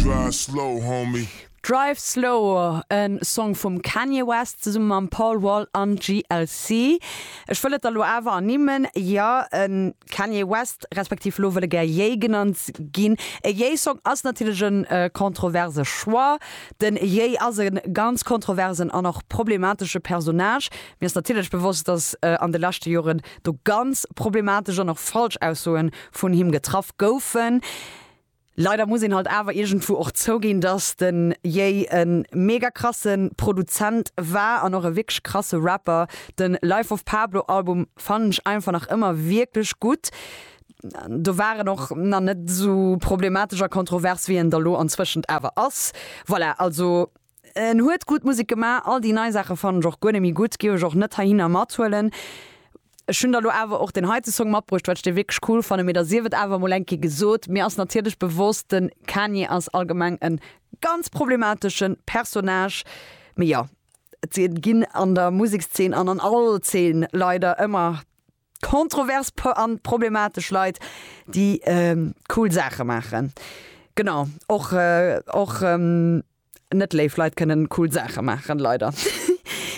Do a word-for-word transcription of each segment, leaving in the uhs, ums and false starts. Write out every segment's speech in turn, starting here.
Drive slow, homie. Drive Slow, en Song vum Kanye West zesumme mam Paul Wall an G L C. Ech wëll et elo awer ernimmen, jo, en Kanye West, respektiv lo wëll e gär Ye genannt ginn. E Ye-Song ass natierlech en äh, kontroverse Choix. Den Ye ass e ganz kontroversen an och problematesche Personnage. Mir ass natierlech bewosst, dass äh, an de leschte Joren do ganz problematesch an och falsch Aussoen vun him getraff goufen. Leider muss een halt awer iergendwou och zouginn, dass den Ye en mega krasse Produzent war an och e wierklech krasse Rapper. Den Life of Pablo Album fannen ech einfach nach ëmmer wierklech gutt. Do war en och nach net sou problematesch a kontrovers, wéi en da lo anzwëschent awer ass. Voilà, also en huet gutt Musek gemaach, all déi nei Saache fannen ech och guer net méi gutt, géif ech och net heihinner mathuelen. Ech hunn da lo awer och den heite Song matbruecht, well ech dee wierklech cool fannen, mee da sief et awer mol eng Kéier gesot, mir ass natierlech bewosst, den Kanye ass allgemeng en ganz problematesche Personnage. Mee jo, et ginn an der Musekszeen an an all Zeen leider ëmmer kontrovers an problematesch Leit, déi ähm, cool Saache maachen. Genau, och, äh, och ähm, net léif Leit kënnen cool Saache maachen, leider.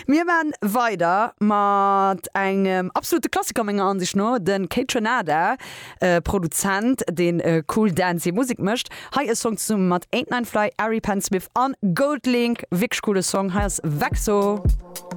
Mir maache weider mat engem absolute Klassiker menger Ansicht no, den Kaytranada, äh, Produzent, deen äh, cool dancey Musek mécht. Hei e Song zesumme mat Eight Nine Fly, Ari Pen Smith an GoldLink, wierklech coole Song, hei ass Vexo.